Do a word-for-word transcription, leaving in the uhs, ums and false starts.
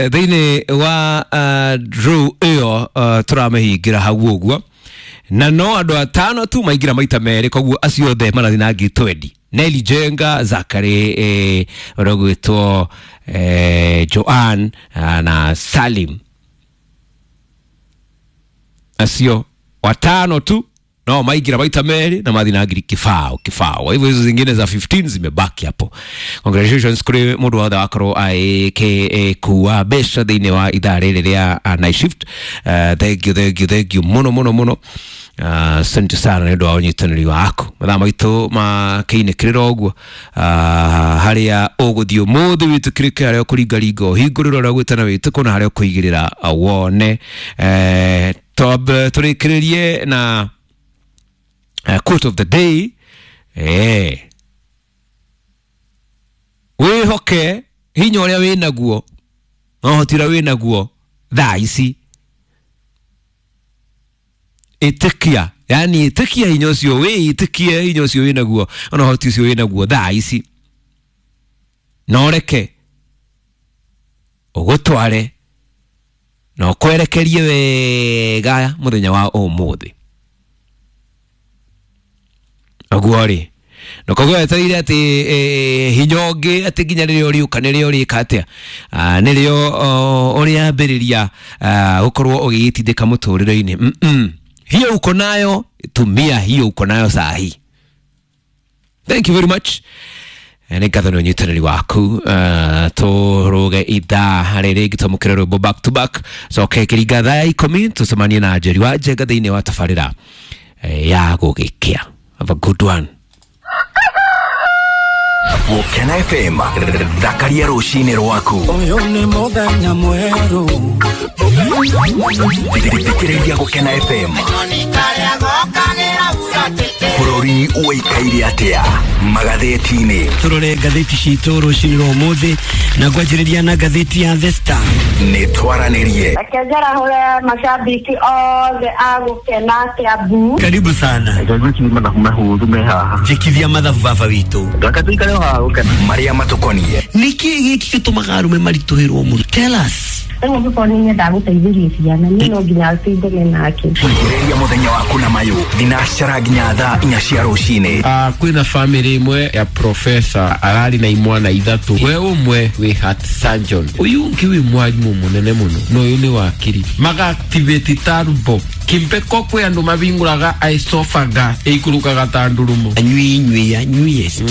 Thĩinĩ wa uh, draw ĩyo uh, tũramĩhingĩra hau ũguo, na no andũ atano tu maingĩra maita merĩ, koguo acio othe marathiĩ na ngiri twendi. Nelly Jenga, Zakary, eh, ũrĩa ũgwĩtwo eh, Joan ah, na Salim, acio watano tu no maingĩra maita merĩ na mathiĩ na ngiri kibao kibao. Kwa hivyo hizo zingine za fifteen zimebaki hapo. Congratulations kuri mundu wothe wakorwo agĩkua mbeca thĩinĩ wa ithaa rĩrĩ rĩa uh, night shift. uh, thank you, thank you, thank you muno muno muno. Asante uh, sana nĩ ũndũ wa ũnyitanĩri waku. Mathaa maitũ makĩinĩkĩrĩra ũguo, uh, harĩa ũgũthiĩ ũmũthĩ wĩtĩkĩrĩke, harĩa ũkũringaringa ũhingũrĩre ũrĩa ũgwĩtana wĩtĩkwo, na harĩa ũkũigĩrĩra wone. eh, twambe tũrĩkĩrĩrie na uh, quote of the day. eh wĩhoke hinya ũrĩa wĩnaguo na ũhoti ũrĩa wĩnaguo thaa ici. Ĩtĩkia, yani ĩtĩkia hinya ũcio, wĩĩtĩkie hinya ũcio wĩnaguo na ũhoti ũcio wĩnaguo thaa ici, na ũreke ũgũtware na ũkwerekerie wega mũthenya wa ũmũthĩ. Ũguo rĩ, na koguo wetereire atĩ eh, hinya ũngĩ atĩ nginya rĩrĩa ũrĩũka nĩrĩo ũrĩka atĩa, Ah, nĩrĩo ũrĩambĩrĩria gũkorwo ũgĩgĩtindĩka mũtũrĩre-inĩ. Mm -mm. Hiyo uko nayo, tumia hiyo uko nayo saa hii. Thank you very much. Nĩ ngatho nĩ ũnyitanĩri waku. uh, tũrũge ithaa rĩrĩ rĩngĩ twamũkĩre rwĩmbo back to back, coke kĩringa thaa ya ikũmi tũcemanie na Njeri wa Njenga thĩinĩ wa tabarĩra eh, ya gũgĩkĩa. Have a good one. Gũkena F M, thakaria rũcinĩ rwaku. Ũyũ nĩ mũthenya mwerũ. Thikĩrĩria Gũkena F M. Bũrũri ũikaire atĩa magathĩti-inĩ? Tũrore ngathĩti citũ rũcinĩ rwa ũmũthĩ na ngwanjĩrĩria na ngathĩti ya The Star. Nĩ twaranĩrie. Reke njarahũre mashabiki othe a Gũkena Kiambu. Karibu sana. Gwĩciria mathabu mahũthũ me haha. Njĩkithia mathabu baba witũ. Reke tũikare o haha Gũkena. Marĩa matũkoniĩ. Nĩkĩ gĩkĩ gĩtũmaga arũme maritũhĩrwo mũno? Tell us. Rĩu angĩkorwo nĩ nyendaga gũteithĩria ciana, niĩ no nginya tũingane nake. Ambĩrĩria mũthenya waku na mayũ thinacara nginya thaa inya cia rũcinĩ. Uh, kwĩna family ĩmwe ya professor ararĩ na imwana ithatũ, we ũmwe wĩ heart surgeon, ũyũ ũngĩ wĩ mwarimũ mũnene mũno, na ũyũ nĩ wakiri. Maga activate turbo kimpeko, kwĩ andũ mavingũraga esophagus ĩikũrũkaga ta ndurumo. Anyui nyui anyuiest.